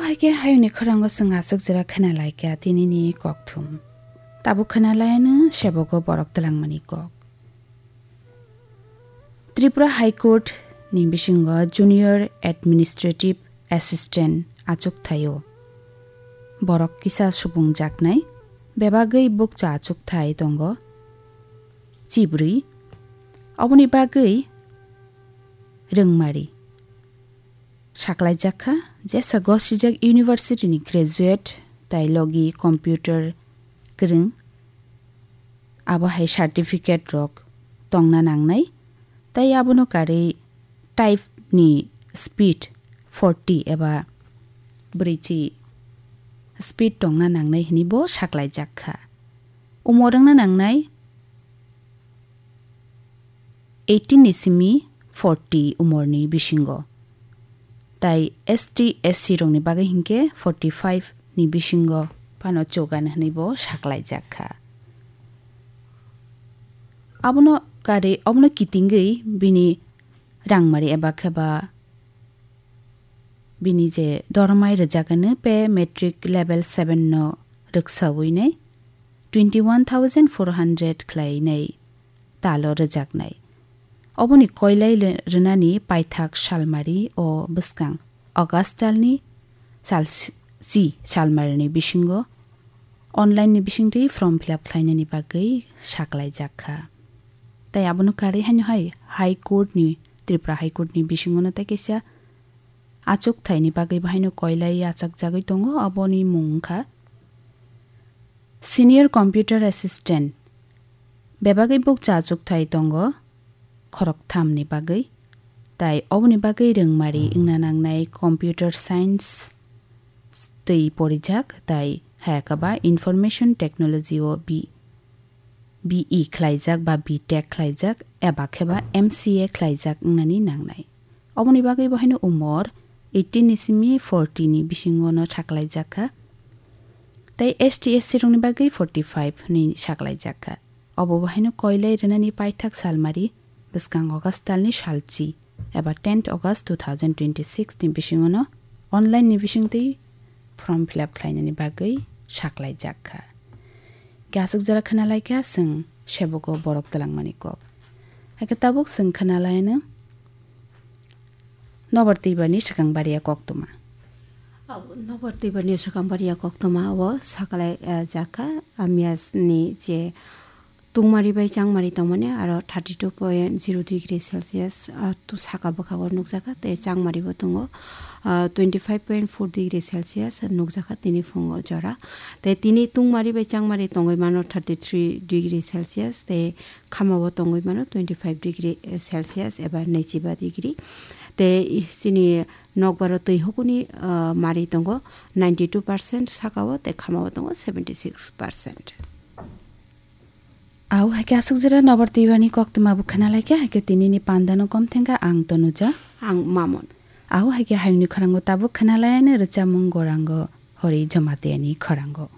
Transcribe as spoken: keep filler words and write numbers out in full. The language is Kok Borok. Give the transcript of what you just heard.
Haikhe hayungni khorang o chwng aswk jora khna lai kha tinini kokthum. Tabuk khna lai ano sebogo borok twlangmani kok. Tripura High Court ni bisingo Junior Administrative Assistant achuk thaio. Borok kisa subung jaknai, bebagwi bukcha achuk thai tongo. Chibrwi, oboni bagwi rwngmari. Saklaijak kha, jesa gosijak university ni graduate, tai logi computer kwrwng, abo hai certificate rok tongna nangnai, tai abono karwi type ni speed forty eba brwichi speed tongna nangnai hwnwi bo saklaijak kha. Umor wngna nangnai eighteen ni simi forty umorni bisingo. Tai S T S C rokni bagwi hinkhe forty five ni bisingo phano chugan hwnwi bo saklaijak kha. Abono kari, abono kitingwi bini rangmari eba khe ba bini je dormai rwjak hwnwi pay matric level seven no rwksawi nai twenty one thousand four hundred khlai nai talo rwjaknai. Oboni koilai le-, rwnani paithak salmari o bwskang August talni sal si-, si salmarini bisingo online ni bisingtwi form fill up khlainani bagwi saklaijak kha. Tai abono karwi haino hai High Court ni, Tripura High Court ni bisingono tai kaisa achuk thaini bagwi bahaino koilai achakjagwi tongo, aboni mung wngkha Senior Computer Assistant. Bebagwi bukcha achuk thai tongo khoroktham ni bagwi, tai oboni bagwi rwngmari wngna nangnai Computer Science twi porijak, tai hayakaba Information Technology o B, B E khlaijak ba B Tech khlaijak eba khe ba M C A khlaijak wngnani nangnai. Oboni bagwi bo haino umor eighteen ni simi forty ni bisingo no saklaijak kha. Tai S T S C rokni bagwi forty five hwnwi saklaijak kha. Obo bo haino koilai rwnani paithak salmari bwskang August talni salchi eba tenth August two thousand twenty six ni bisingo no online ni bisingtwi form fill up khlainani bagwi saklaijak kha. Khe aswk jora khna lai kha chwng sebogo borok twlangmani kok. Hakhe tabuk chwng khna lai ano Nobar Twibarni swkang baria koktwma. Abo Nobar Twibarni swkang baria koktwma o saklai, eh, jakha, Amiasni je tungmari bai changmari tongmani aro thirty two point zero degree Celsius, ah, tu saka bwkhago nukjakha, tei changmari bo tongo, ah, twenty five point four degree Celsius nukjakha tini phungo jora. Tei tini tungmari bai changmari tongwi mano thirty three degree Celsius, tei khamao tongwi mano twenty five degree Celsius eba naichiba degree. Tei chini nokbaro twi hukuni, ah, mari tongo ninety two percent sakao, tei khamao tongo seventy six percent. Au haikhe aswk jora Nobar Twibarni koktwma bo khna lai kha, haikhe tinini pandano kom thengkha ang Tonuja. Ang Mamon. Au haikhe hayungni khorang o tabuk khna lai ani rwchapmung gorang o Hori Jamatia ni khorang o.